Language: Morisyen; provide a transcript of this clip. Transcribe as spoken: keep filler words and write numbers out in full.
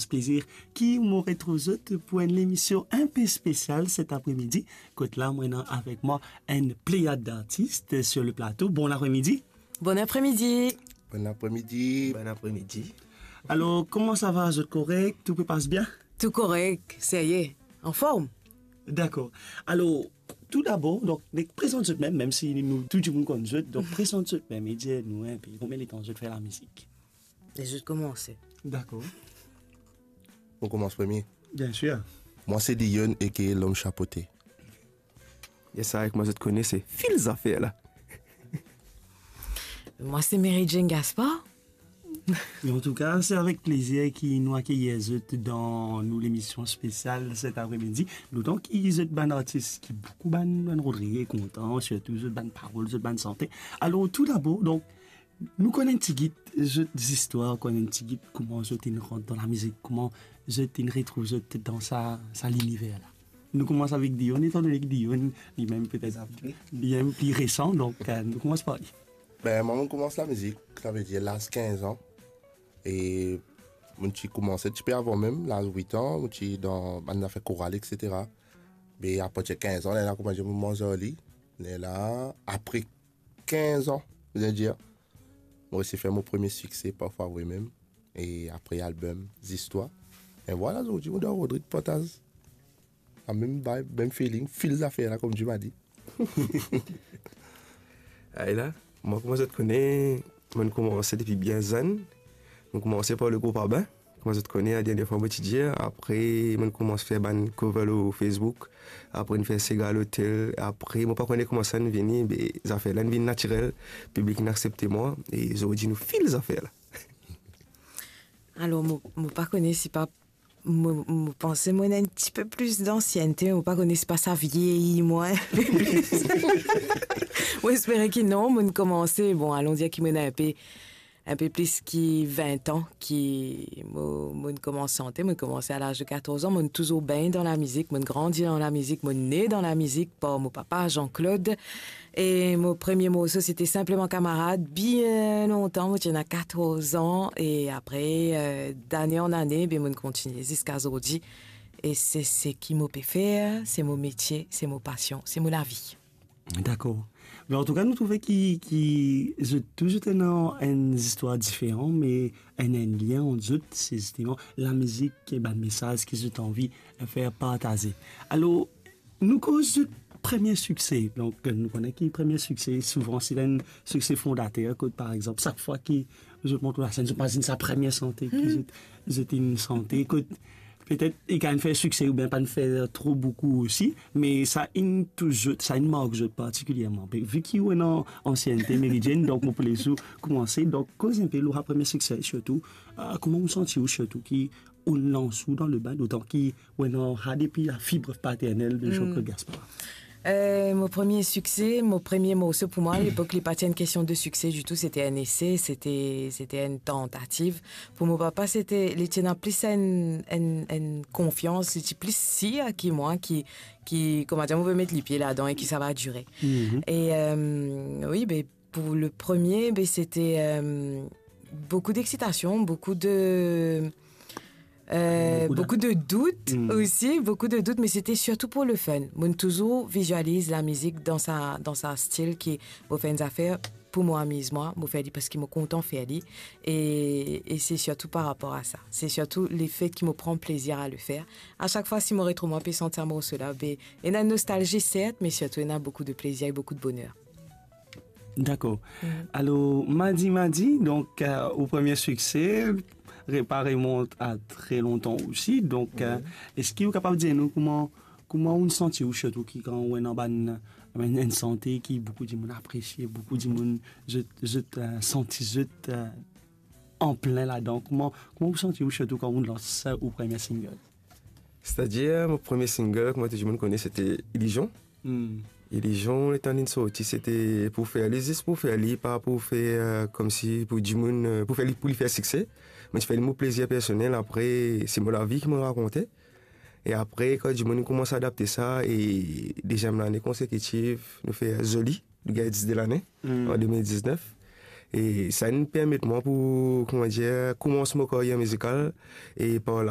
plezir ki mo retrouv zot pou enn lemision inpe spesial set apremidi. Kot la, mo ena avek mwa enn pleyad dartis sur le plato. Bon apremidi. Bon apremidi. Bon apremidi. Bon apremidi. Alor, kouma sa va? Zot korek? Tou pe pas bien? Tou korek, serye, anform. Dakor. Alor, tou dabor, donk, prezant zot mem, mem si nou tou dimoun konn zot, donk, prezant zot mem e dir nou inpe konbien letan zot fer lamizik. E zot koumanse. Dakor. Mo koumans premie. Biensir. Mwa se Dion, aka Lom Chapote. Yes, sa, kouma zot kone, se Fil Zafer la. Mwa se Mary Jane Gaspard. E antouka, se avek plezir ki nou akeyir zot dan nou lemision spesial set apremidi. Dotan ki zot bann artis ki boukou bann, bann Rodrig kontan, sirtou zot bann parol, zot bann sante. Alor, tou dabor, donk, nou konn enn tigit zot zistwar, konn enn tigit kouma zot inn rant dan lamizik, kouma zot inn retrouv zot dan sa, sa liniver la. Nou koumans avek Dion, etandone ki Dion, limem petet, bien pli resan, donk, eh, nou koumans par li. Ben, mwa, mo koumans lamizik, savedir laz kinz an. E mo ti koumanse tipe avan mem, laz wit an, mo ti dan bann zafer koral, etsetera. Me apartir kinz an, lerla koumadir mo manz ar li. Lerla, apre kinz an, mo dir, mo resi fer mo premie sikse, Parfwa Vre Mem. E apre album, Zistwar. E vwala, zordi, mo dan Rodrig partaz. Sa mem vibe, mem feeling, Fil Zafer la, kouma mo dir. Ay la, mwa, kouma zot kone, mo'nn koumanse depi bien zenn. Mo'nn koumanse par le group Abin, kouma zot kone, la dernie fwa mo ti dir. Apre, mo'nn koumans fer bann cover lor Facebook. Apre, mo'nn fer Sega Lotel. Apre, mo pa kone kouma sa inn vini, me zafer la inn vinn natirel. Piblik inn aksepte mwa. E zordi, nou Fil Zafer la. Alor, mo, mo pa kone si pa Mo, mo panse mo ena enn tipe plis dansiennte, mo pa kone si pa sa vieyi mwa inpe plis. Mo espere ki non, mo'nn koumanse, bon, alon dir ki mo ena inpe, inpe plis ki vin an ki mo, mo'nn koumans sante, mo'nn koumanse a laz de katorz an, mo'nn touzour bengn dan lamizik, mo'nn grandi dan lamizik, mo'nn ne dan lamizik par mo papa Jean-Claude. E mo premie morso, se te Sinpleman Kamarad, bien lontan, mo ti ena katorz an, e apre, eh, dane an ane, be mo'nn kontigne ziska zordi. E se seki mo pe fer, se mo metie, se mo pasion, se mo lavi. Dakor. Me antouka, nou trouve ki, ki zot tou zot ena enn zistwar diferan, me enn, enn lien ant zot, se zisteman lamizik e bann mesaz ki zot anvi fer partaze. Alor, nou koz zot premie sikse. Donk, nou kone ki premie sikse, souvan, se enn sikse fondater, kot, par exanp, sak fwa ki zot mont lor lasenn, zot mazinn sa premie sante ki zot, zot inn sante, kot, petet, li kapav fer sikse oubien pa'nn fer tro boukou osi, me sa inn tous zot, sa inn mark zot partikilierman. Be, vi ki ou ena ansiennte, Mary Jane, donk, mo pou les ou koumanse. Donk, koz inpe lor sa premie sikse, sirtou, ah, kouma ou santi ou, sirtou ki ou lans ou dan lebin, dotan ki ou ena sa depi la fibre paternelle de Jean-Claude Gaspard? Eh, mo premie sikse, mo premie morso, pou mwa, lepok, li pa ti enn kestion de sikse ditou, se te enn ese, se te, se te enn tantativ. Pou mo papa, se te, li ti ena plis enn, enn, enn konfians, li ti plis sir ki mwa, ki, ki, kouma dir, mo pe met lipie ladan e ki sa va dire. E, eh, wi, be, pou le premie, be, se te, eh, boukou d'exitasion, boukou de, eh, boukou de dout osi, boukou de dout, me se te sirtou pou le fun. Mo'nn touzour vizializ lamizik dan sa, dan sa stil ki mo fer enn zafer pou mo amiz mwa, mo fer li parski mo kontan fer li. E, e se sirtou par rapor a sa. Se sirtou lefet ki mo pran plezir a le fer. A sak fwa, si mo retrouv mwa pe sant sa morso la, be, ena nostalzi, sert, me sirtou ena boukou de plezir e boukou de boner. Dakor. Alor, Madi Madi, donk, eh, ou premie sikse, re-, pa remont a tre lontan osi. Donk, eh, eski ou kapav dir nou kouma, kouma ou santi ou, sirtou ki kan ou ena bann, bann, enn sante ki boukou dimoun apresie, boukou dimoun zot, zot, eh, santi zot, eh, anplin ladan? Kouma, kouma ou santi ou, sirtou kan ou lans ou premie single? Setadir, mo premie single, kouma tou dimoun kone, se te Ilizion. Ilizion, letan li'nn sorti, se te pou fer li, zis pou fer li, pa pou fer, eh, koumsi pou dimoun, eh, pou fer li, pou li fer sikse. Mo ti fer li mo plezir personel, apre, se mo lavi ki mo rakonte. E apre, kan dimoun inn koumans adapte sa, e deziem lane konsekitiv, nou fer Zoli, nou gagn dis de lane, an de mil diznef. E sa inn permet mwa pou, kouma dir, koumans mo karyer mizikal, e par la